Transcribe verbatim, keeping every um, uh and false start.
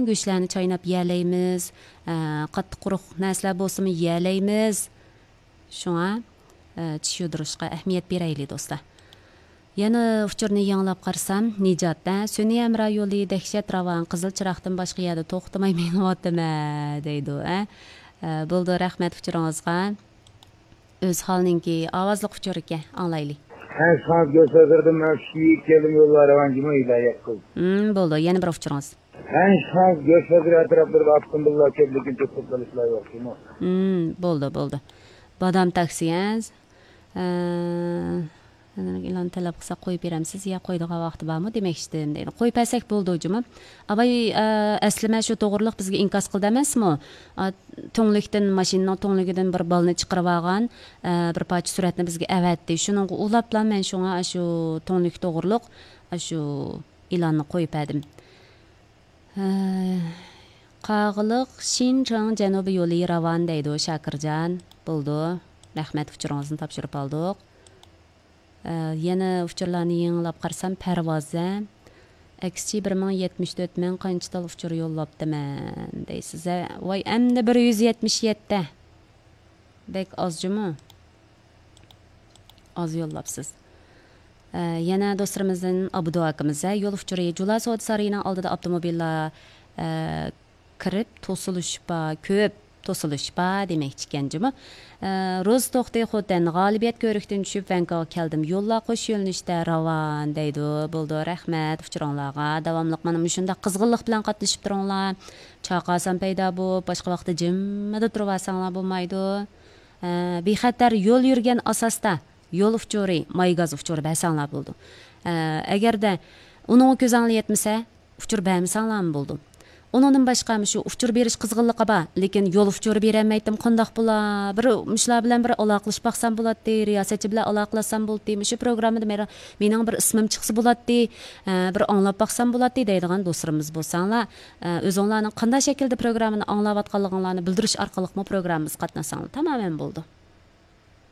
گۆشلەرنى چايناپ يېيەلەيمىز. ئە، قاتتىق قۇرۇق نەرسىلەر بولسىمۇ يېيەلەيمىز. شۇڭا، ئە، چىش يۇدۇرۇشقا ئەھمىيەت بېرەيلى، دوستلار. يەنە ئۇچۇرنى يېڭىلاپ قارىسام، نىجات، ئە، سۈنئىي ھەمراھ يولى دەھشەت راۋان، قىزىل چىراغدىن باشقا يەردە توختىماي مېڭىۋاتىمەن، دەيدۇ، ئە. ئە، بولىدۇ، رەھمەت ئۇچۇرىڭىزغا. ئۆزھالنىڭكى ئاۋازلىق ئۇچۇر ئىكەن، ئاڭلايلى. ھەن شانس گۆسەگىردىن مەن شۇ يىگىت كەلدىم يوللار رەۋان جىمە ئىلايەت قىل. ھىم، بولىدۇ، يەنە بىر ئۇچۇرىڭىز. ھەن شانس گۆسەگىر ئەتراپلىرىدا ئاتقىن بالىلار كۆپ، لېكىن توختاپ قېلىشلار يوق، جۇمۇ. ھىم، بولىدۇ، بولىدۇ. بادام تاكسى، ھە؟ ئە، ئىلان تەلەپ قىلسا قويۇپ بېرەمسىز يا قويىدىغان ۋاقتى بارمۇ دېمەكچىدىم، دەيدۇ. قويۇپ بەرسەك بولىدۇ، جۇمۇ. ئاباي، ئە، ئەسلىمە شۇ توغرىلىق بىزگە ئىنكاس قىلدى ئەمەسمۇ؟ ئا، تۈڭلۈكتىن، ماشىنىنىڭ تۈڭلۈكىدىن بىر بالىنى چىقىرىۋالغان، ئە، بىر پارچە سۈرەتنى بىزگە ئەۋەتتى. شۇنىڭغا ئۇلاپلا مەن شۇڭا ئاشۇ تۈڭلۈك توغرۇلۇق ئاشۇ ئېلاننى قويۇپ بەردىم. ھە، قاغىلىق شىنچاڭ جەنۇبىي يولى راۋان دەيدۇ، شاكىرجان. بولىدۇ. رەھمەت، ئۇچۇرىڭىزنى تاپشۇرۇپ ئالدۇق. ئە، يەنە ئۇچۇرلارنى يېڭىلاپ قارىسام، پەرۋازە. ئەكسىچە بىر مىڭ يەتمىش تۆت، مەن قانچە تال ئۇچۇر يوللاپتىمەن دەيسىز، ھە؟ ۋاي، ئەمدى بىر يۈز يەتمىش يەتتە. بەك ئاز جۇمۇ. ئاز يوللاپسىز. ئە، يەنە دوستلىرىمىزدىن ئابدۇ ئاكىمىز، ھە، يول ئۇچۇرى، جۇلا سودا سارىيىنىڭ ئالدىدا ئاپتوموبىللار، ئە، كىرىپ توسۇلۇش بار، كۆپ توسۇلۇش بار دېمەكچىكەن جۇمۇ. ئە، روزا توختى خوتەن، غالىبىيەت كۆۋرۈكتىن چۈشۈپ ۋەنكاغا كەلدىم. يوللار قوش يۆنىلىشتە راۋان دەيدۇ. بولىدۇ، رەھمەت ئۇچۇرۇڭلارغا. داۋاملىق مانا مۇشۇنداق قىزغىنلىق بىلەن قاتنىشىپ تۇرۇڭلار. چاقاسان پەيدا بولۇپ، باشقا ۋاقىتتا جىممىدە تۇرۇۋالساڭلار بولمايدۇ. ئە، بىخەتەر يول يۈرگەن ئاساستا يول ئۇچۇرى، ماي گاز ئۇچۇرى بەرسەڭلار بولىدۇ. ئە، ئەگەردە ئۇنىڭغا كۆزۈڭلار يەتمىسە، ئۇچۇر بەرمىسەڭلارمۇ بولىدۇ. ئۇنىڭدىن باشقا مۇشۇ ئۇچۇر بېرىش قىزغىنلىقى بار، لېكىن يول ئۇچۇرى بېرەلمەيتتىم، قانداق بولا؟ بىر مۇشۇلار بىلەن بىر ئالاقىلىشىپ باقسام بولاتتى، رىياسەتچى بىلەن ئالاقىلاشسام بولاتتى. مۇشۇ پروگراممىدا مېنىڭ، مېنىڭ بىر ئىسمىم چىقسا بولاتتى، ئە، بىر ئاڭلاپ باقسام بولاتتى دەيدىغان دوستلىرىمىز بولساڭلار، ئە، ئۆزۈڭلارنىڭ قانداق شەكىلدە پروگراممىنى ئاڭلاۋاتقانلىقىڭلارنى بىلدۈرۈش ئارقىلىقمۇ پروگراممىمىزغا قاتناشساڭلار تامامەن بولىدۇ.